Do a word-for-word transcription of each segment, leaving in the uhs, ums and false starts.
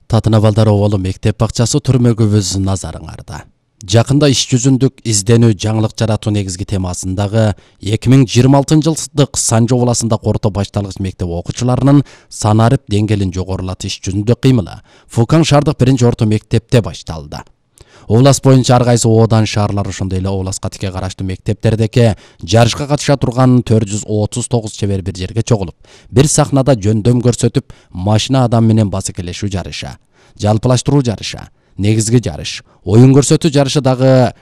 Татына балдар оболу мектеп бакчасы түрмөгүбүз назарыңарда. Жакында иш жүзүндүк изденүү жаңылык жаратуу негизги темасындагы эки миң жыйырма алтынчы жылдык Санжы областындагы орто башталгыч мектеп окуучуларынын санарип деңгээлин жогорулатыш жүзүндө кыймылы Фукан шаардык биринчи орто мектепте башталды. Област боюнча ар кайсы оодан шаарлар ошондой эле областка тике караштуу мектептердеги жарышка катыша турган төрт жүз отуз тогуз чебер бир жерге чогулуп, бир сахнада жөндөм көрсөтүп, машина адам менен басыкелешүү жарышы, жалпылаштыруу жарышы, негизги жарыш, оюн көрсөтүү жарышы дагы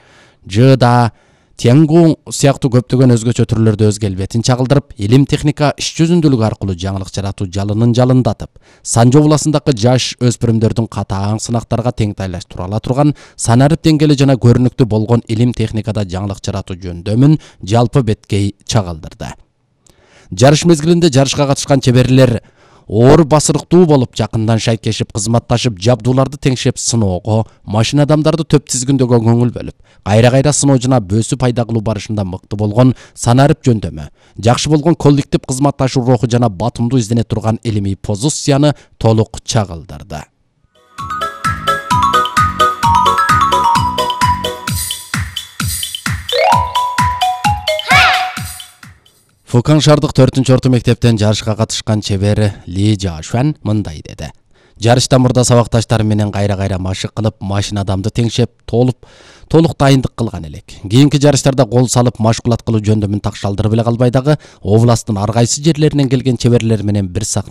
жыда Тенгу сыяктуу көптөгөн өзгөчө түрлөрдө өз келбетин чагылдырып, илим техника иш жүзүндүүлүк аркылуу жаңылык жаратуу жалынын жалындатып, Санжы областындагы жаш өспүрүмдөрдүн катаң сынактарга теңтайлаштыра ала турган санарип деңгээли жана көрүнүктүү болгон илим техникада жаңылык жаратуу жөндөмүн жалпы беткей чагылдырды. Жарыш мезгилинде жарышка катышкан чеберлер оор басырыктуу болуп, жакындан шайкешип, кызматташып, жабдууларды теңшеп сыноого, машина адамдарды төп тизгиндөгө көңүл бөлүп, кайра-кайра сыноо жана бөөсү пайда кылуу барышында мыкты болгон санарип жөндөмү, жакшы болгон коллектив кызматташуу руху жана батымдуу издене турган илимий позицияны толук чагылдырды. Фукан шаардык төртүнчү орто мектептен жарышка катышкан чебер Ли Жашуан мындай деди. Жарыштан мурда сабакташтары менен кайра-кайра машык кылып, машина адамды теңшеп, толуп, толук дайындык кылган элек. Кийинки жарыштарда кол салып, машгулат кылуу жөндөмүн такшалдырып эле калбай дагы, областтын ар кайсы жерлеринен келген чеберлер менен бир сахна